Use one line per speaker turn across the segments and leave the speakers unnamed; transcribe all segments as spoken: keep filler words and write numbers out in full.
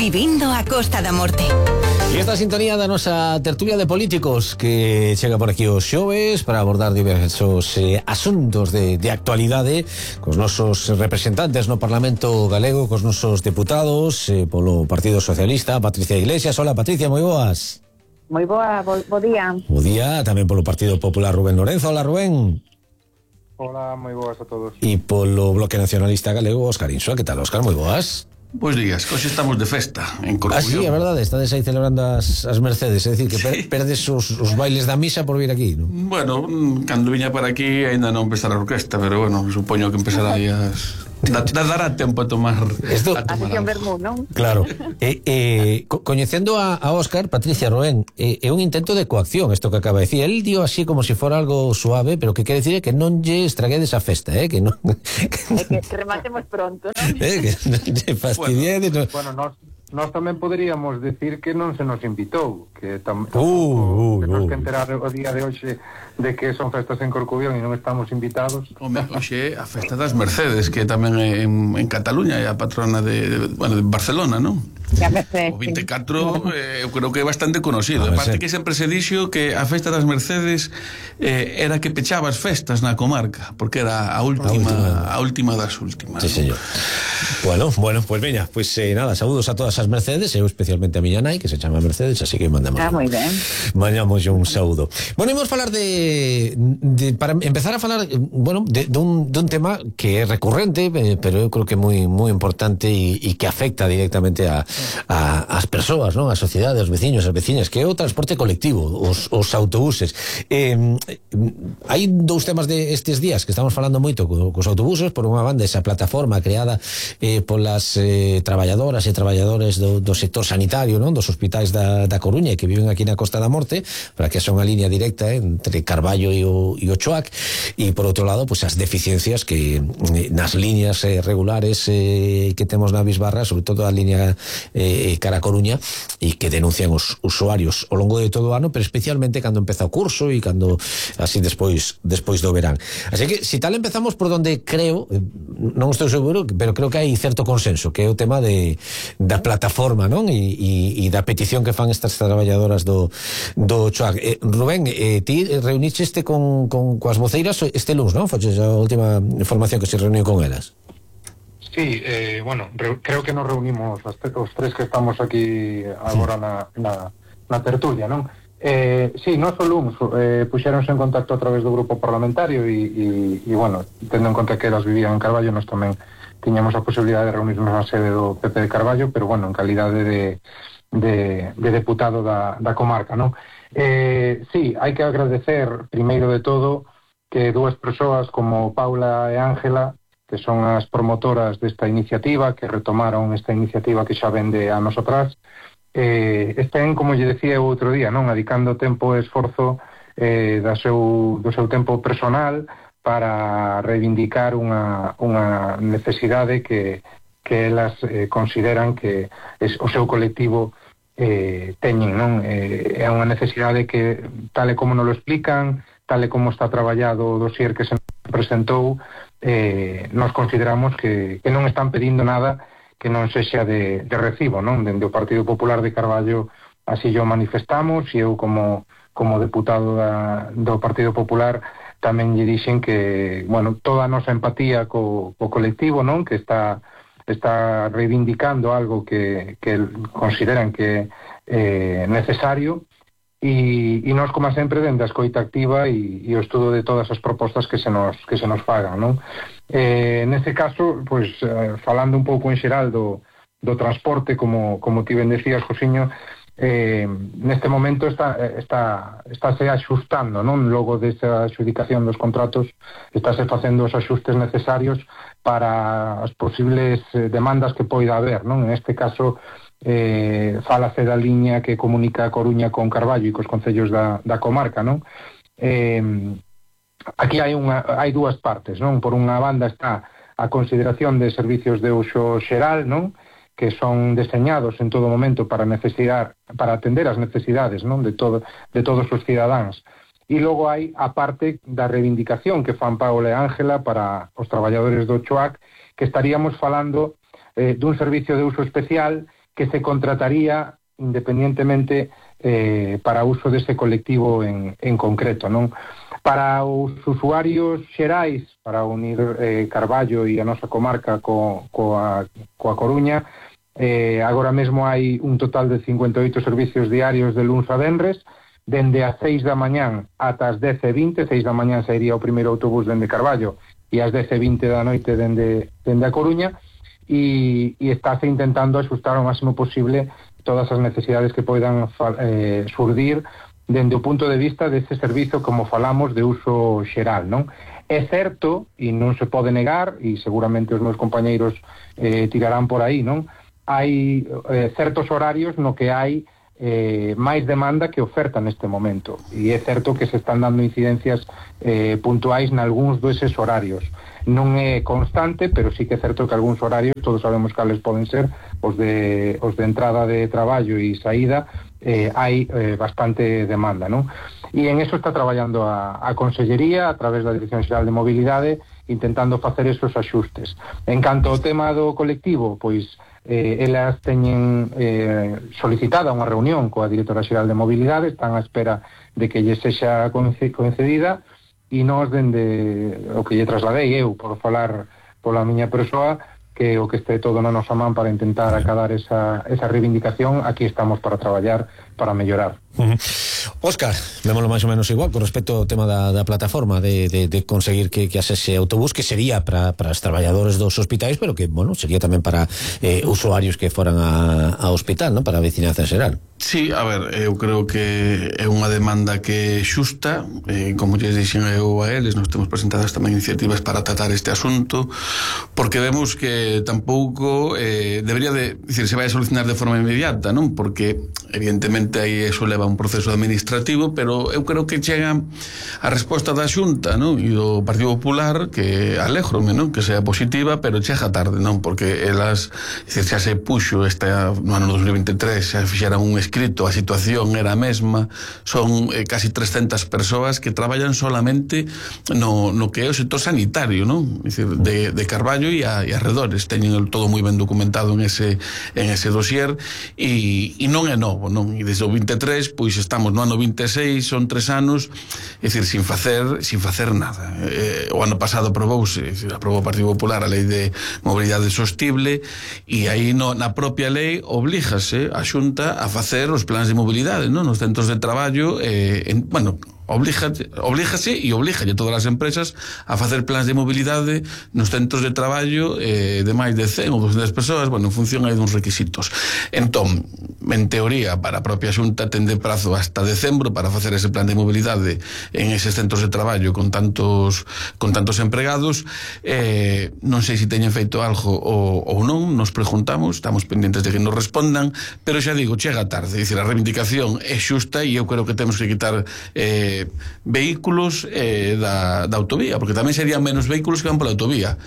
Vivindo a Costa da Morte.
E esta sintonía da nosa tertulia de políticos que chega por aquí os xoves para abordar diversos eh, asuntos de, de actualidade cos nosos representantes no Parlamento Galego, cos nosos deputados eh, polo Partido Socialista, Patricia Iglesias. Hola Patricia, moi boas.
Moi boa, bo, bo día.
Bo día, tamén polo Partido Popular Rubén Lorenzo. Hola Rubén.
Hola, moi boas a todos.
E polo Bloque Nacionalista Galego, Óscar Insua. Que tal, Óscar? Moi boas.
Pois días, hoxe estamos de festa en Corcubión.
Ah, sí, é verdade, estades aí celebrando as, as Mercedes, é dicir, que per,
sí.
perdes os, os bailes da misa por vir aquí, non?
Bueno, cando viña para aquí ainda non empezara a orquesta, pero bueno, supoño que empezará aí as... Da, dará tempo a tomar
Esto,
a tomar
a Bermú, non?
Claro. eh, eh, co coñecendo a, a Óscar, Patricia, Rubén, é eh, un intento de coacción isto que acaba de decir. El dio así como se si fora algo suave, pero que quere decir é que non lle estraguedes a festa, eh, que non
que, que, que rematemos pronto, non?
Eh, que non lle fastidiades.
Bueno, no... bueno nós, nós tamén poderíamos decir que non se nos invitou, que tam,
uh, uh,
que nos
uh.
que enterar o día de hoxe de que son festas en Corcubión e non estamos invitados.
Home, hoxe a festa das Mercedes, que tamén é en, en Cataluña, é a patrona de, de, bueno, de Barcelona, non? O vinte e catro eh, eu creo que é bastante conocido. Aparte que sempre se dixo que a festa das Mercedes eh, era que pechaba as festas na comarca, porque era a última, a última, a última das últimas.
Sí, señor. Bueno, bueno, pues veña, pues eh, nada, saúdos a todas as Mercedes, eu especialmente a miña nai, que se chama Mercedes, así que mandamos.
Ah, moi ben.
Mandamos un saúdo. Bueno, imos falar de, de para empezar a falar, bueno, de, de, un, de un tema que é recurrente, eh, pero eu creo que é moi moi importante e, e que afecta directamente a A, as persoas, non? A sociedade, os veciños, as veciñas, que é o transporte colectivo, os, os autobuses. Eh, hai dous temas de estes días que estamos falando moito co, cos autobuses. Por unha banda, esa plataforma creada eh, polas eh, traballadoras e traballadores do, do sector sanitario, non? Dos hospitais da, da Coruña que viven aquí na Costa da Morte, para que son unha línea directa eh, entre Carballo e o, e o Choac. E por outro lado, pues, as deficiencias que eh, nas líneas eh, regulares eh, que temos na Bisbarra, sobre todo a línea eh, cara a Coruña, e que denuncian os usuarios ao longo de todo o ano, pero especialmente cando empeza o curso e cando así despois despois do verán. Así que, si tal, empezamos por donde creo, non estou seguro, pero creo que hai certo consenso, que é o tema de da plataforma, non? E, e, e da petición que fan estas traballadoras do, do Choac. Eh, Rubén, eh, ti reunicheste con, con coas voceiras este luns, non? Foches a última información que se reuniu con elas.
Sí, eh, bueno, re, creo que nos reunimos os, os tres que estamos aquí agora na, na, na tertulia, non? Eh, sí, non só luns, eh, puxéronse en contacto a través do grupo parlamentario e, e, e bueno, tendo en conta que elas vivían en Carballo, nós tamén tiñamos a posibilidade de reunirnos na sede do P P de Carballo, pero bueno, en calidade de, de, de deputado da, da comarca, non? Eh, sí, hai que agradecer, primeiro de todo, que dúas persoas como Paula e Ángela, que son as promotoras desta iniciativa, que retomaron esta iniciativa que xa vende anos atrás, eh, estén, como lle decía o outro día, non, adicando tempo e esforzo eh, da seu, do seu tempo personal para reivindicar unha, unha necesidade que, que elas eh, consideran que es, o seu colectivo eh, teñen, non? Eh, é unha necesidade que, tal e como nos lo explican, tal e como está traballado o dossier que se presentou, eh, nos consideramos que, que non están pedindo nada que non sexa de, de recibo, non? Dende o Partido Popular de Carballo así yo manifestamos, e eu como, como deputado da, do Partido Popular tamén lle dixen que, bueno, toda a nosa empatía co, co colectivo, non? Que está, está reivindicando algo que, que consideran que é eh, necesario. E, e nós, como sempre, dende a escoita activa e, e o estudo de todas as propostas que se nos, que se nos fagan, non? Eh, neste caso, pois, eh, falando un pouco en xeral do, do transporte, como, como ti ben decías, Josiño, eh, neste momento está, está, estáse axustando, non? Logo desa adxudicación dos contratos, estáse facendo os axustes necesarios para as posibles demandas que poida haber, non? En este caso, eh, falase da liña que comunica a Coruña con Carballo e cos concellos da, da comarca, non? Eh, aquí hai, unha, hai dúas partes, non? Por unha banda está a consideración de servicios de uso xeral, non? Que son deseñados en todo momento para necesidad, para atender as necesidades, non? De, todo, de todos os cidadáns. E logo hai a parte da reivindicación que fan Paula e Ángela para os traballadores do Choac, que estaríamos falando eh, dun servicio de uso especial que se contrataría independientemente eh, para uso dese colectivo en, en concreto, non? Para os usuarios xerais, para unir eh, Carballo e a nosa comarca co, coa, coa Coruña, eh, agora mesmo hai un total de cincuenta e oito servicios diarios de luns a venres, dende as seis da mañán ata as dez e vinte, seis da mañán sairía o primeiro autobús dende Carballo e as dez e vinte da noite dende, dende a Coruña, e, e estáse intentando axustar ao máximo posible todas as necesidades que poidan eh, surdir dende o punto de vista dese servizo, como falamos, de uso xeral, non? É certo, e non se pode negar, e seguramente os meus compañeiros eh, tirarán por aí, non? Hai eh, certos horarios no que hai eh, máis demanda que oferta neste momento, e é certo que se están dando incidencias eh, puntuais nalgúns deses horarios. Non é constante, pero sí que é certo que algúns horarios, todos sabemos cales poden ser, os de, os de entrada de traballo e saída, eh, hai eh, bastante demanda, non? E en eso está traballando a, a Consellería a través da Dirección Xeral de Mobilidade, intentando facer esos axustes. En canto ao tema do colectivo, pois eh, elas teñen eh, solicitada unha reunión coa Directora Xeral de Mobilidade, están á espera de que lle sexa concedida, e nós, dende o que lle trasladei eu, por falar pola miña persoa, que o que este todo na nosa man para intentar acadar esa, esa reivindicación, aquí estamos para traballar, para mellorar.
Uh-huh. Óscar, vémoslo máis ou menos igual con respecto ao tema da, da plataforma de, de, de conseguir que, que hace ese autobús, que sería para os traballadores dos hospitais, pero que, bueno, sería tamén para eh, usuarios que foran a, a hospital, ¿no? Para a veciñanza xeral.
Sí, a ver, eu creo que é unha demanda que é xusta, eh, como lles dixen eu a eles, nos temos presentadas tamén iniciativas para tratar este asunto, porque vemos que tampouco eh, debería de, dicir, se vai a solucionar de forma inmediata, non? Porque evidentemente aí eso leva un proceso administrativo, pero eu creo que chega a resposta da Xunta, non? E do Partido Popular, que alégrome, non? Que sea positiva, pero chega tarde, non? Porque elas, dicir, xa se puxo esta, no ano dos mil veintitrés, xa fixeran un escrito, a situación era a mesma, son eh, casi trescentas persoas que traballan solamente no, no que é o sector sanitario, non? Dicir, de, de Carballo e, a, e arredores, teñen todo moi ben documentado en ese, en ese dossier, e, e non é novo, non? E desde o veintitrés, pois estamos no ano vinte e seis, son tres anos, é dicir, sin facer sin facer nada. Eh, o ano pasado aprobouse, é dicir, aprobou o Partido Popular a Lei de Mobilidade Sostible, e aí no, na propia lei oblígase a Xunta a facer os plans de mobilidade, non? Nos centros de traballo, eh, en, bueno, oblígase, oblígase e oblígalle a todas as empresas a facer plans de mobilidade nos centros de traballo eh, de máis de cen ou doscientas persoas, bueno, en función aí duns requisitos. Entón, en teoría, para a propia Xunta ten de prazo hasta decembro para facer ese plan de mobilidade en eses centros de traballo con tantos con tantos empregados. Eh, non sei se teñen feito algo ou, ou non, nos preguntamos, estamos pendientes de que nos respondan, pero xa digo, chega tarde, é dicir, a reivindicación é xusta e eu creo que temos que quitar eh, vehículos eh, da, da autovía, porque tamén serían menos vehículos que van pola autovía.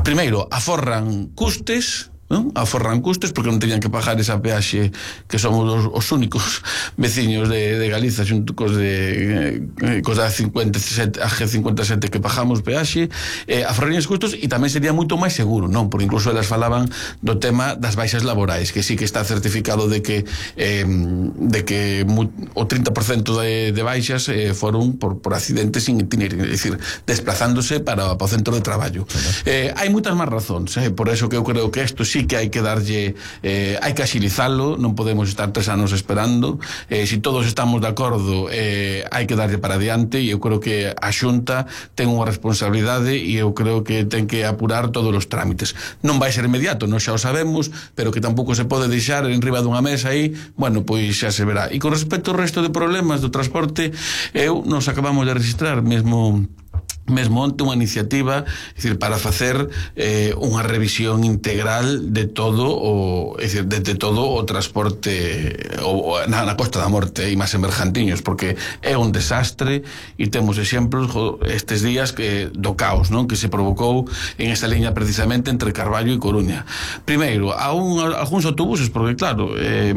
Primeiro, aforran custes, non? Aforran custes porque non teñan que pagar esa peaxe que somos os, os únicos veciños de, de Galiza xunto cos de eh, cos da cincuenta e sete, a G cincuenta e sete que pagamos peaxe, eh, aforrarían os custos e tamén sería moito máis seguro, non? Porque incluso elas falaban do tema das baixas laborais, que sí que está certificado de que eh, de que mu, o trinta por cento de, de baixas eh, foron por, por accidentes sin itinerario, é dicir, desplazándose para, para o centro de traballo. Eh, hai moitas máis razóns, eh, por eso que eu creo que isto sí que hai que darlle, eh, hai que axilizalo, non podemos estar tres anos esperando, eh, si todos estamos de acordo, eh, hai que darlle para adiante, e eu creo que a Xunta ten unha responsabilidade e eu creo que ten que apurar todos os trámites. Non vai ser inmediato, non xa o sabemos, pero que tampouco se pode deixar en riba dunha mesa aí, bueno, pois xa se verá. E con respecto ao resto de problemas do transporte, eu nos acabamos de registrar mesmo mesmo onte unha iniciativa, é dicir, para facer eh, unha revisión integral de todo o, é dicir, de, de todo o transporte o, na, na Costa da Morte e máis en Bergantiños, porque é un desastre e temos exemplos estes días que do caos, non? Que se provocou en esta liña precisamente entre Carballo e Coruña. Primeiro, a un, a, algúns autobuses, porque claro, eh,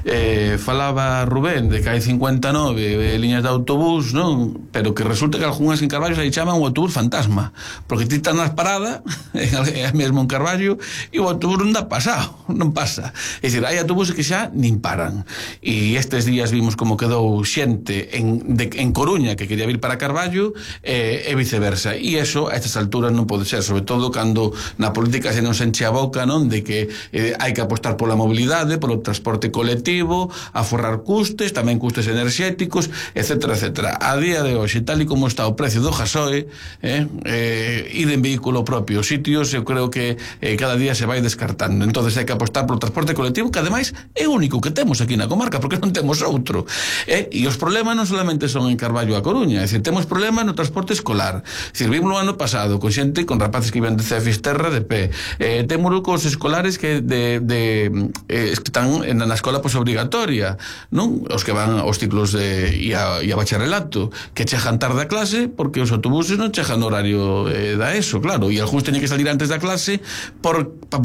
eh, falaba Rubén de que hai cincuenta e nove eh, liñas de autobús, non? Pero que resulta que algúnas en Carballo se chaman o autobús fantasma, porque ti estás nas paradas é mesmo en Carballo e o autobús non dá pasado, non pasa. É dicir, hai autobuses que xa nin paran, e estes días vimos como quedou xente en, de, en Coruña que quería vir para Carballo eh, e viceversa, e eso a estas alturas non pode ser, sobre todo cando na política se nos enche a boca, non, de que eh, hai que apostar pola mobilidade, polo transporte colectivo, aforrar custes, tamén custes enerxéticos, etcétera, etcétera. A día de hoxe, tal e como está o precio do gasoe, eh, eh, ir en vehículo propio sitios, eu creo que eh, cada día se vai descartando. Entonces hai que apostar polo transporte colectivo, que ademais é o único que temos aquí na comarca, porque non temos outro. Eh, e os problemas non solamente son en Carballo a Coruña, é dicir, temos problemas no transporte escolar. É dicir, vimos o ano pasado con xente, con rapaces que iban de C E Fisterra de pé. Eh, temos cos escolares que de, de eh, que están na, na escola posobrigatoria, non? Os que van aos ciclos de, e, a, e a bacharelato, que chegan tarde a clase porque os autobuses non chegan no horario eh, da ESO, claro, e algúns teñen que salir antes da clase por, para